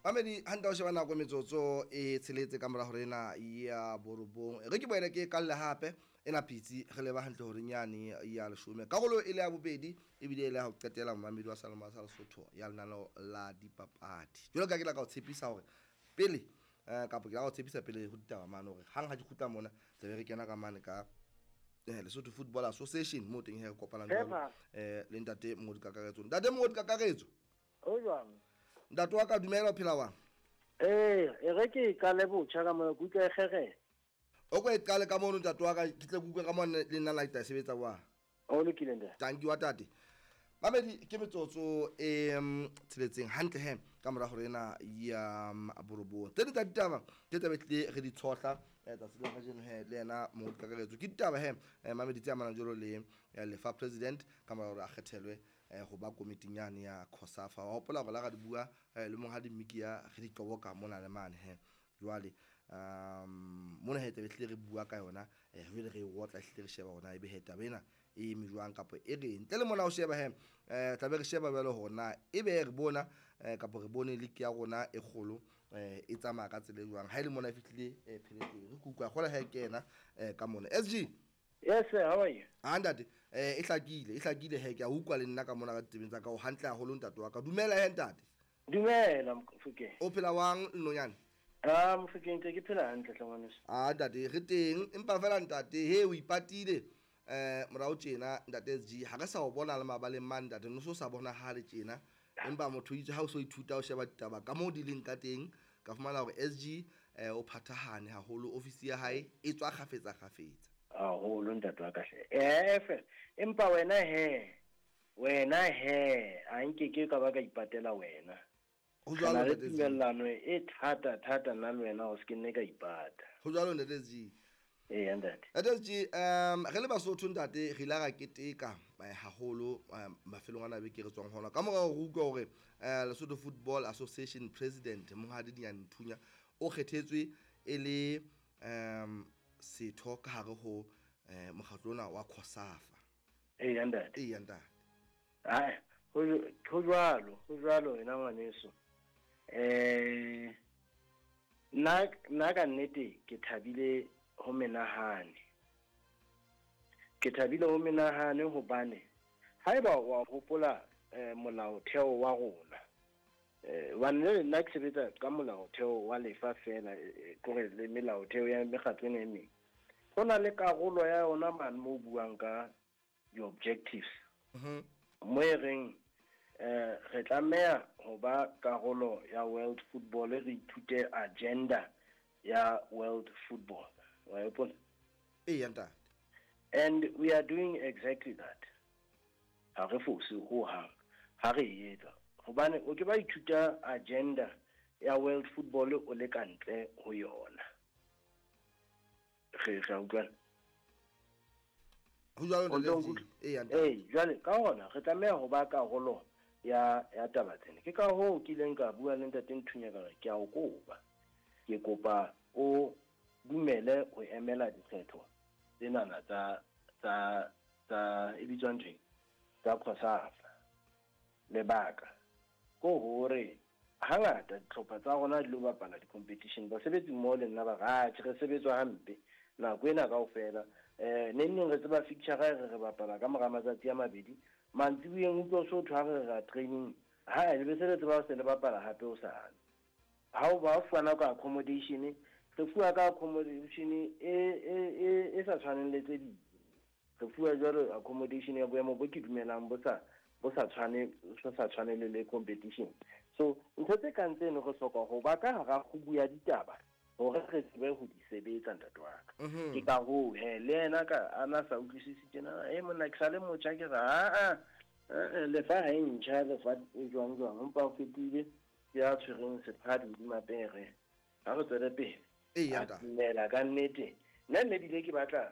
Mamedi hantle o sheba nako metsotso e tsheletse ka mora hore ena ya borobong. Re ke boele ke kalle hape ena pitsi re leba hantle hore nyane ya leshome. Karolo e le ya bobedi ebile e le ya ho qetela momamedi wa Saloma sa Lesotho ya lenaneo la dipapadi. Jwalo ka ke la ka o tshepisa hore pele kapo ke la ka o tshepisa pele ho ditaba mane hore hang ha di kgutla mona tlabe re kena ka mane ka Lesotho Football Association moo teng he re kopanang jwalo le ntate Mongodi Kakaretso. Ntate Mongodi Kakaretso. O jwang? Ntate wa ka dumela o phela wang? Ee, e re ke qale botjha ka mona ke utlwa e kgerela. O ko e qale ka mono ntate wa ka ke tle ke utlwe ka mona le nna la ke tla e sebetsa wa. O lokile ntate. Thank you wa tate. Mamedi ke metsotso e tsheletseng hantle he ka mora hore ena ya borobong. Tse ding tsa ditaba ke tlabe tlile re di tshohla tsatsi la kajeno he le yena Mongodi Kakaretso. Ke ditaba he mamedi tse amanang jwalo le Lefa President ka mora hore a kgethelwe ho ba komiting yane ya COSAFA. Wa hopola hore la ra di bua le monghadi Mmikiya re di qoboka mona le mane he. Jwale mona he tlabe hlile re bua ka yona jwale re e otla hlile re sheba hore na ebe he taba ena e eme jwang kapa e reng. Ntle le mona o sheba he tlabe re sheba jwale hore na ebe re bona kapa re bone league ya rona e kgolo e tsamaya ka tsela e jwang. Ha e le mona e fihlile pheletsong. Re kuka kgola he ke yena ka mona. SG. Yes sir, how are you? Ah ntate, e hlakile, e hlakile he ke a utlwa le nna ka mona ka ditebeng tsa ka o hantle haholo ntate wa ka. Dumela he ntate. Dumela Mofokeng. O phela wang Nnonyane? Ah Mofokeng ntse ke phela hantle hle ngwaneso. Ah ntate, re teng empa fela ntate he o ipatile morao tjena ntate SG ha re sa o bona le mabaleng mane ntate no so sa bonahale tjena. Empa motho itse ha o so ithuta o sheba ditaba ka moo di leng ka teng ka fumana hore SG o phathahane haholo ofisi ya hae e tswa kgafetsa kgafetsa. Haholo ntate wa ka hle. Fela empa wena he wena he a nke ke ka ba ka ipatela wena. Ho jwalo ntate SG. Tumellano e thata thata nna le wena o se ke nne ka ipata. Ho jwalo ntate SG. Ee ntate. Ntate SG re le Basotho ntate re ile ra keteka haholo mafelong ana beke re tswang hona. Ka mora hore re utlwe hore Lesotho Football Association President Monghadi Dinyane Nthunya o kgethetswe e le setho ka hare ho mokgatlo ona wa COSAFA. Ee ntate. Ee ntate. Hai, ho jwalo, ho jwalo wena ngwaneso. Nna ka nnete ke thabile ho menahane. Ke thabile ho menahane hobane haeba wa hopola molaotheo wa rona. Hobane le nna ke sebetsa ka molaotheo wa lefa fela kore le melaotheo ya mekgatlo ena e meng. Ho na le karolo ya yona mane mo buang ka di-objectives. Mo e reng re tlameha ho ba karolo ya World Football, re ithute agenda ya World Football. Wa hopola? Ee ntate. And we are doing exactly that. Ha re fose ho hang ha re e etsa. Hobane o ke ba ithuta agenda ya World Football o le ka ntle ho yona. Re ra utlwana? Ho jwalo ntate. Ee ntate. Ee, jwale ka hona re tlameha ho ba karolo ya taba tsena. Ke ka hoo ke ileng ka bua le ntate Nthunya ka re ke a o kopa. Ke kopa o dumele ho emela dikgetho tsenana tsa tsa tsa e bitswang ntho tsa COSAFA. Lebaka ko hore hangata dihlopha tsa rona di lo bapala di-competition, basebetsi mmoho le nna ba re atjhe re sebetswa hampe nako ena kaofela. Neng neng re tseba fixture re bapala ka mora matsatsi a mabedi, mantsiboyeng utlwa so thwe ha re ra training ha le be se le tseba se le bapala hape o sane. Ha o ba fana ka accommodation, re fuwa ka accommodation e sa tshwaneng le tse ding. Re fuwa jwalo accommodation ya boemo bo ke dumelang bo sa tshwane le competition. So ntho tse kang tseno re hloka ho ba ka hara kgubu ya ditaba hore re tsebe ho di sebetsa ntate wa ka. Ke ka hoo he le yena ka ana sa utlwisisi tjena, monna ke sale motjha ke re a lefa ha e ntjha lefa e jwang jwang empa o fetile ya tshwereng sephadi hodima pere. Ha re tswele pele. Ee ntate. Dumela ka nnete. Nna nne bile ke batla